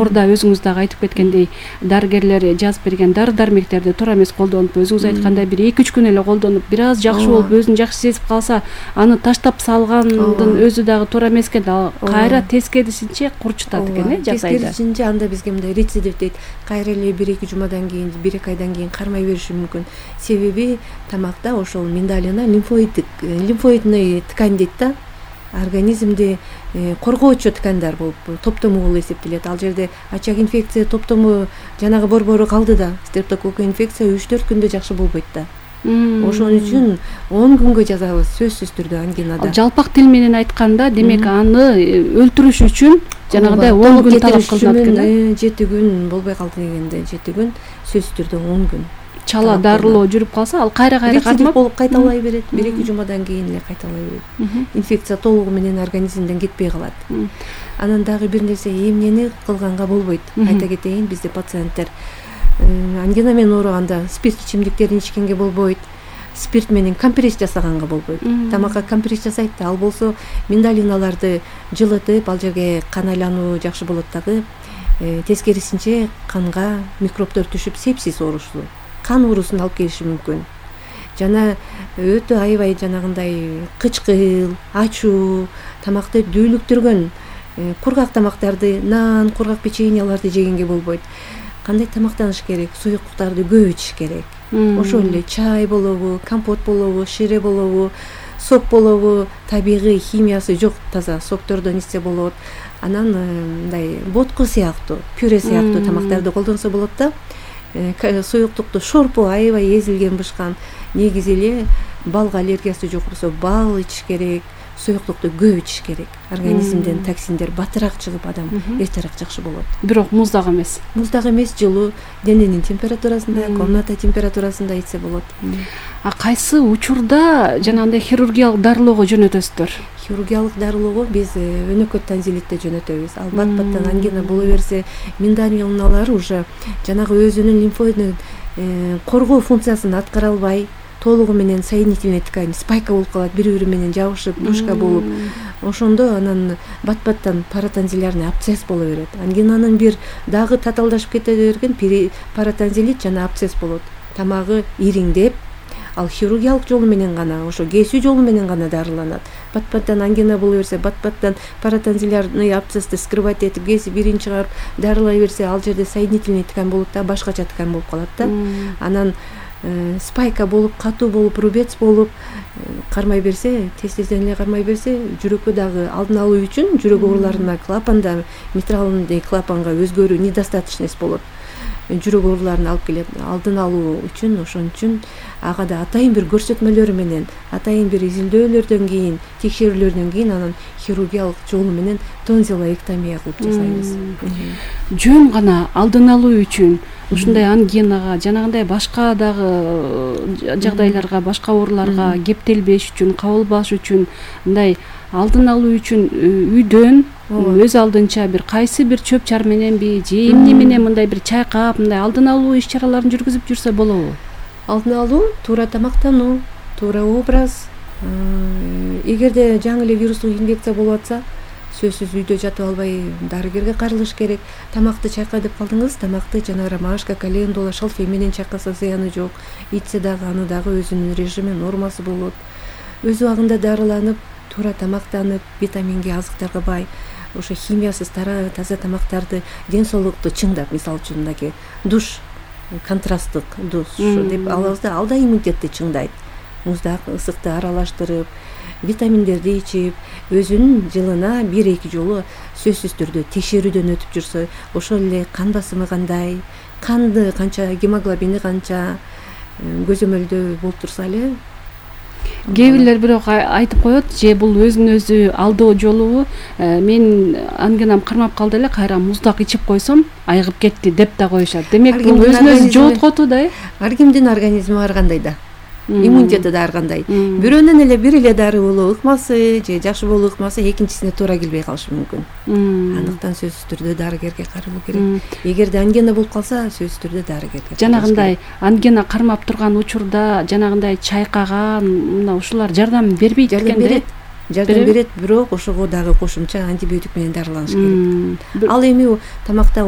жогоруда өзүңүз дагы айтып кеткендей дарыгерлер жазып берген дары дармектерди туура эмес колдонуп, өзүңүз айткандай бир 2-3 күн эле колдонуп, бир аз жакшы болуп, өзүн жакшы сезип калса, аны таштап салгандын өзү дагы туура эмес экен. Ал кайра тескерисинче курчутат экен, жагдайды. Тескерисинче анда бизге мындай рецидив дейт. Кайра эле 1-2 жумадан кийин, 1-2 айдан кийин кармай бериши мүмкүн. Себеби тамакта ошол миндалина лимфоидный ткань дейт да. Организмди коргоочу ткандар болуп, топтому болуп эсептелет. Ал жерде ачак инфекция топтому жанагы борбору калды да, стрептококк инфекция 3-4 күндө жакшы болбойт да. Ошон үчүн 10 күнгө жазабыз сөзсүз түрдө ангинада. Жалпак тил менен айтканда, демек аны өлтүрүш үчүн жанагыдай 10 күн талап кылынат экен. 7 күн болбой калды дегенде 7 күн, сөзсүз түрдө 10 күн. Чала дарылоо жүрүп калса, ал кайра кайтмап болуп кайталай берет. 1-2 жумадан кийин эле кайталай берет. Инфекция толугу менен организмден кетпей калат. Анан дагы бир нерсе, эмнени кылганга болбойт. Айта кетейин, бизде пациенттер ангина менен ооруганда спирт ичимдиктерин ичкенге болбойт. Спирт менен компресс жасаганга болбойт. Тамакка компресс жасайт да, ал болсо миндалиналарды жылытып, ал жерге кан айлануу жакшы болот дагы. Тескерисинче канга микробдор түшүп, сепсис оорусу, кан оорусун алып келиши мүмкүн. Жана өтө аябай жанагындай кычкыл, ачуу, тамакты дүүлүктүргөн кургак тамактарды, нан, кургак печеньяларды жегенге болбойт. Кандай тамактаныш керек? Суюктуктарды көп ичиш керек. Ошол эле чай болобу, компот болобу, шире болобу, сок болобу, табигый химиясы жок таза соктордон ичсе болот. Анан мындай ботко сыяктуу, пюре сыяктуу тамактарды колдонсо болот да. Суюктукту шорпу аябай эзилген бышкан, негизи эле балга аллергиясы жок болсо бал ичиш керек, суюктукту көп ичиш керек. Организмден токсиндер батыраак чыгып, адам эртерээк жакшы болот. Бирок муздак эмес. Муздак эмес, жылуу, дененин температурасында, комната температурасында ичсе болот. А кайсы учурда жанагындай хирургиялык дарылоого жөнөтөсүздөр? Хирургиялык дарылоого биз өнөкөт танзилитте жөнөтөбүз. Ал бат-баттан ангина боло берсе, миндалиналар уже жанагы өзүнүн лимфоидный коргоо функциясын аткара албай, толугу менен соединительный ткань спайка болуп калат, бири-бири менен жабышып, душка болуп. Ошондо анан бат-баттан паратонзилярный абсцесс боло берет. Ангинанын бир дагы татаалдашып кете берген паратонзилит жана абсцесс болот. Тамагы ириңдеп, ал хирургиялык жолу менен гана, ошо кесүү жолу менен гана дарыланат. Бат-баттан ангина боло берсе, бат-баттан паратонзилярный абсцессти скрывать этип, кесип ирин чыгарып дарылай берсе, ал жерде соединительный ткань болот да, башкача ткань болуп калат да. Анан спайка болуп, катуу болуп, рубец болуп кармай берсе, тез-тезден эле кармай берсе, жүрөккө дагы алдын алуу үчүн жүрөк ооруларына клапанда, митралный клапанга өзгөрүү недостаточность болот. Жүрөк ооруларын алып келет. Алдын алуу үчүн, ошон үчүн ага да атайын бир көрсөтмөлөр менен, атайын бир изилдөөлөрдөн кийин, текшерүүлөрдөн кийин анан хирургиялык жолу менен тонзиллоэктомия кылып жасайбыз. Жөн гана алдын алуу үчүн ушундай ангинага, жанагындай башка дагы жагдайларга, башка ооруларга кептелбеш үчүн, кабылбаш үчүн, мындай алдын алуу үчүн үйдөн өз алдынча бир кайсы бир чөп чар мененби, же эмне менен мындай бир чайкап, мындай алдын алуу иш-чараларын жүргүзүп жүрсө болобу? Алдын алуу, туура тамактануу, туура образ. Эгерде жаңы эле вирустук инфекция болуп атса, сөзсүз үйдө жатып албай дарыгерге карылыш керек. Тамакты чайка деп калдыңыз, тамакты жана ромашка, календула, шалфей менен чайкаса зыяны жок. Ичсе дагы аны дагы өзүнүн режими, нормасы болот. Өз убагында дарыланып, туура тамактанып, витаминге, азыктарга бай, ошо химиясыз таза тамактарды, ден соолукту чыңдап, мисалы үчүн мындай душ, контрасттык душ деп алабыз да, ал да иммунитетти чыңдайт. Муздак, ысыкты аралаштырып, витаминдерди ичип, өзүнүн жылына 1-2 жолу сөзсүз түрдө текшерүүдөн өтүп жүрсө, ошол эле кан басымы кандай, канды канча, гемоглобини канча көзөмөлдөө болуп турса эле. Кээ бирлер бирок айтып коет, же бул өзүн өзү алдоо жолубу, мен ангинам кармап калды эле, кайра муздак ичип койсом, айыгып кетти деп да коюшат. Демек бул өзүн өзү жооткотуу да. Ар кимдин организми ар кандай да. Иммунитети да ар кандай. Бирөөнөн эле бир эле дары болуп ыкмасы, же жакшы болуп ыкмасы экинчисине туура келбей калышы мүмкүн. Андыктан сөзсүз түрдө дарыгерге каралуу керек. Эгерде ангина болуп калса, сөзсүз түрдө дарыгерге. Жанагындай ангина кармап турган учурда жанагындай чайкаган, мына ушулар жардам бербейт экен. Жардам берет, бирок ошого дагы кошумча антибиотик менен дарыланыш керек. Ал эми тамакта